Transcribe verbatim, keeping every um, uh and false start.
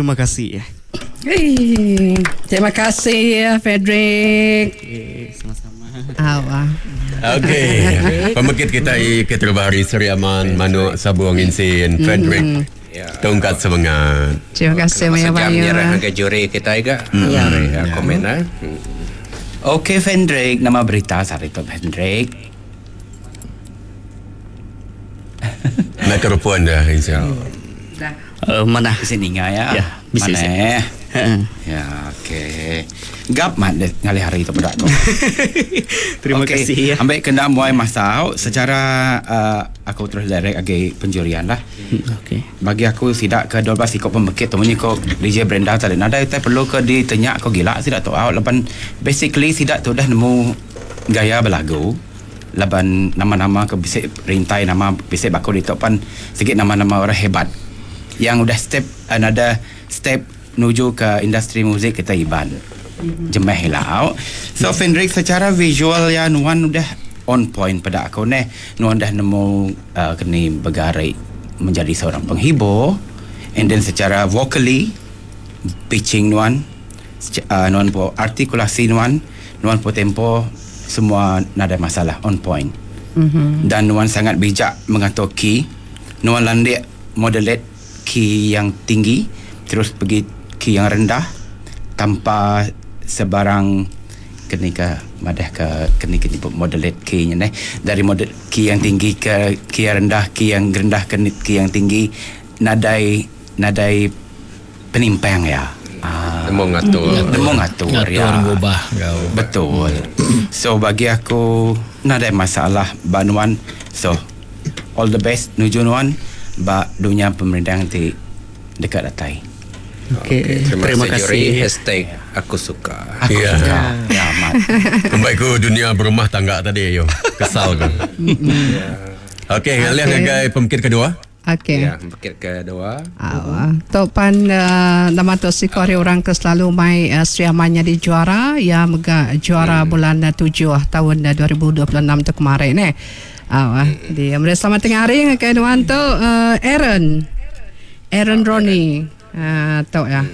Terima kasih. Hey, terima kasih Frederick. Okay, sama-sama. Awa. Okey. Pemekit kita ke terbaru Seri Aman Manuk Sabung Insin Frederick. Ya. Tongkat semangat. Terima kasih Masa Maya jam Maya. nyerah ke juri kita juga. Ya. Ya, komen ah. Hmm. Okey Fendrick, nama berita sehari tu Fendrick. Mikrofon dah insya. Uh, mana? Di sini ya. Ya, bisa, Mana? bisa. Ya, okey. Gap mat deh ngalih hari tu budak tu. Terima Okey, kasih ya. Ambil kena muai masa secara uh, aku terus direct agi penjurian lah. Okey. Bagi aku sidak ke dua belas ikut pembekit tu munyi ko D J Brenda tadi. Nadai utai perlu ke ditenyak ko gila sidak tu out. Laban basically sidak tu dah nemu gaya berlagu. Laban nama-nama ke bisik rintai nama bisik baku di topan sikit nama-nama orang hebat yang udah step another step menuju ke industri muzik kita Iban. Mm-hmm. Jemeh lah. So Fendrick secara visual ya nuan udah on point pada aku neh. Nuan dah nemu uh, keni bergarik menjadi seorang penghibur, and then secara vocally pitching nuan, uh, nuan po artikulasi nuan, nuan po tempo semua nada masalah, on point. Mm-hmm. Dan nuan sangat bijak mengatur key. Nuan landik modulate key yang tinggi terus pergi key yang rendah tanpa sebarang kenika madah ke keni keni modulate key nya neh, dari model key yang tinggi ke key yang rendah, key yang rendah ke key yang tinggi, nadai nadai penimpang ya. Ah, Nemu ngatur. Nemu ngatur, Ngatur ya. ngubah kau. Betul. So bagi aku nadai masalah banuan. So all the best nuju nuan ba dunia pemerintah ti dekat datai. Okey, Okey, terima, terima kasih juri. kasih. Hashtag aku suka. Aku Ya. suka. Ya amat. Kembali ke dunia berumah tangga tadi yo. Kesal kan. Okey, ngalih Okey. ngagai pemekit kedua. Okey. Ya, pemekit kedua. Awa. Tok pan uh, nama tu sikori orang ke selalu mai uh, Sri Aman jadi juara ya mega juara hmm. bulan uh, tujuh tahun uh, dua ribu dua puluh enam tu kemarin eh. Awa. Hmm. Dia meri selamat tengah hari ngagai nuan tu uh, Aaron. Aaron Ronnie. Ah uh, tok ya.